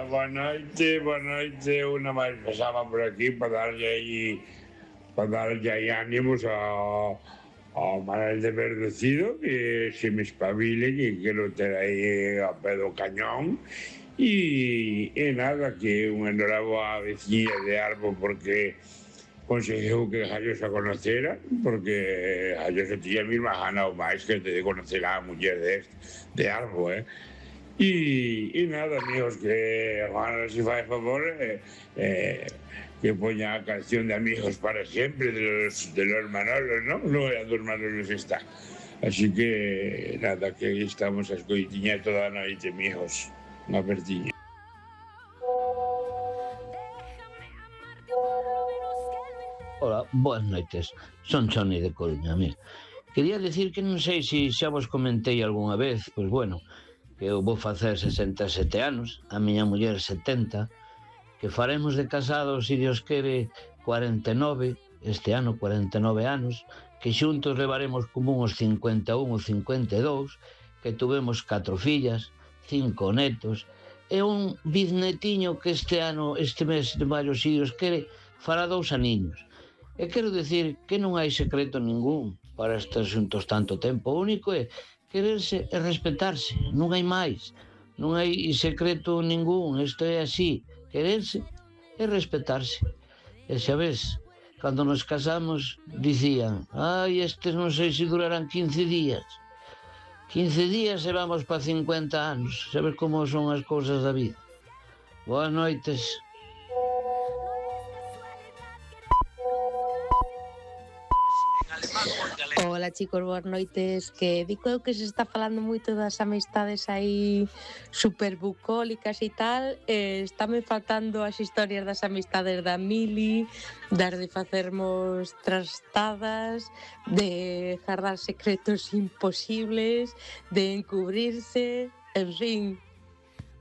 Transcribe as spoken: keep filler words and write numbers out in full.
boa noite, boa noite. Unha máis pasaba por aquí para darlle aí para darlle aí ánimos ao, ao Manuel de Verdecido, que se me espabile, que quero ter aí a pé do cañón. E, e nada, que unha enhoraboa a veciña de Arbo porque conseguiu que Jallosa conocera, porque Jallosa tiña mesmo ganado máis que de conocer a muller de, de Arbo, eh? E, e nada, amigos, que Juan, si fai favor, eh, eh, que poña a canción de Amigos para Siempre de los, de los Manolos, ¿no? No, a dos Manolos está. Así que nada, que aí estamos a escoitiñar toda a noite, amigos. Unha pertiña. Hola, boas noites. Son Choni de Coruña, mira. Quería decir que non sei se xa vos comentei algunha vez, pois bueno, que eu vou facer sesenta e sete anos, a miña muller setenta, que faremos de casados, se Dios quere, cuarenta e nove, este ano cuarenta e nove anos, que xuntos levaremos como uns cincuenta e un ou cincuenta e dous, que tuvemos catro fillas, cinco netos, e un biznetiño que este ano, este mes de maio, se Dios quere, fará dous aniños. E quero dicir que non hai secreto ningún para estar xuntos tanto tempo. O único é quererse e respetarse, non hai máis. Non hai secreto ningún, isto é así, quererse e respetarse. E xa ves, cando nos casamos dicían, ai, estes non sei se durarán quince días. quince días e vamos para cincuenta anos. Sabes como son as cousas da vida. Boas noites. Hola chicos, boas noites. Que digo eu que se está falando moito das amistades aí super bucólicas e tal, eh, estáme faltando as historias das amistades da Mili, das de facermos trastadas, de guardar secretos imposibles, de encubrirse, en fin,